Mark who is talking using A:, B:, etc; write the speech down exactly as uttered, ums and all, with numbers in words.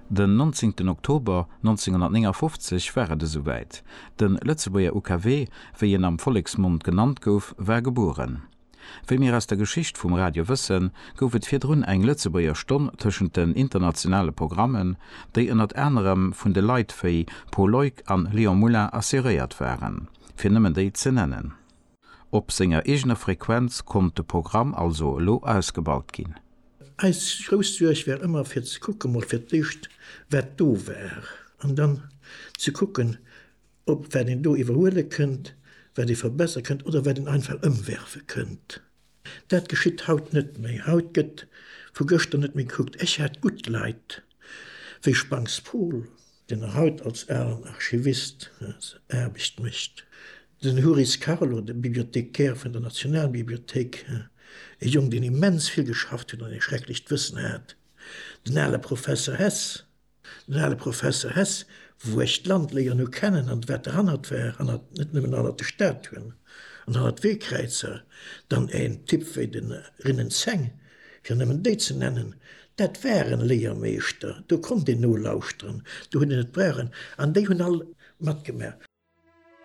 A: Den nonzéngten Oktober nonzénghonnertnéngafofzeg war et esouwäit, De Lëtzebuerger U K W, wéi en am Volleksmond genannt gouf, war gebueren. Wéi mir aus der Geschicht vum Radio wëssen, gouf et virdrun eng Lëtzebuerger Stonn tëschent den internationale Programmen, déi ënnert anerem vun de Leit wéi Pol Leuck an Léon Moulin assuréiert waren, fir nëmmen déi ze nennen. Op senger eegener Frequenz konnt de Programm also elo ausgebaut ginn.
B: Eis grouss Suerg war ëmmer fir ze kucken, mol fir d'éischt wat do war an dann ze kucken, ob wat een do iwwerhuele kënnt, wat ee verbessere kënnt oder wat een einfach ëmwerfe kënnt. Dat geschitt haut net méi. Haut gëtt vu gëschter net méi gekuckt. Ech hat gutt Leit wéi Spangs Paul, deen nach haut als alen Archivist Aarbecht mécht, den Huris Carlo, de Bibliothécaire vun der Nationalbibliothéik, e Jong, deen immens vill geschafft huet an e schrecklecht Wëssen hat, den ale Professer Hess, den ale Professer Hess, wou ech d'Land léieren hu kennen an wat derhannert war, hannert, net nëmmen hannert de Statuen an hannert d'Weekräizer, dann en Typ wéi de Rinnen Zeng, fir nëmmen déi ze nennen, dat waren Léiermeeschter, do konnt een nolauschteren, do huet een et brauchen an déi hunn all matgemaach.